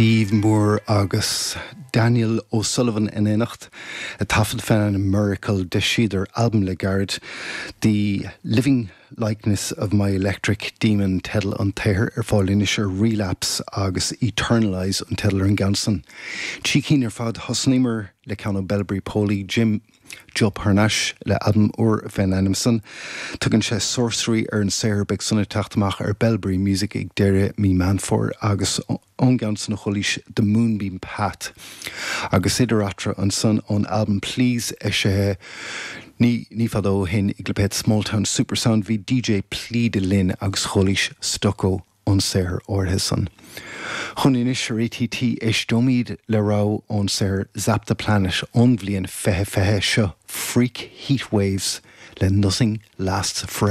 Steve Moore agus Daniel O'Sullivan in éineacht, ag taifead fén ainm Miracle. D'eisíodar albam le gairid, The Living Likeness of My Electric Demon teideal an tsaothair, ar fáil anois ar Relapse agus Eternalize an teideal ar an gceann san. Trí cinn ar fad, thosnaíomar le ceann ó Bellbri Poli, Jim Jupp thar n-ais le albam úr fén ainm san. Tugann sé Sorcery ar an saothar, beidh san ag teacht amach ar Bellberry Music ag deireadh mí Meán Fómhair agus ón gceann san a chualaís The Moonbeam Path agus idir eatarthu ansan ón albam Please eisithe ní ní fada ó shin i gclipéad Smalltown Supersound bhí DJ Plead linn agus chualaís Stucco ón saothar áirithe san. Chugainn anois ar ATT éisteoimid le rogha ón saothar Zap the Planet ón bhliain 2020, seo Freak Heatwaves le Nothing Lasts Forever.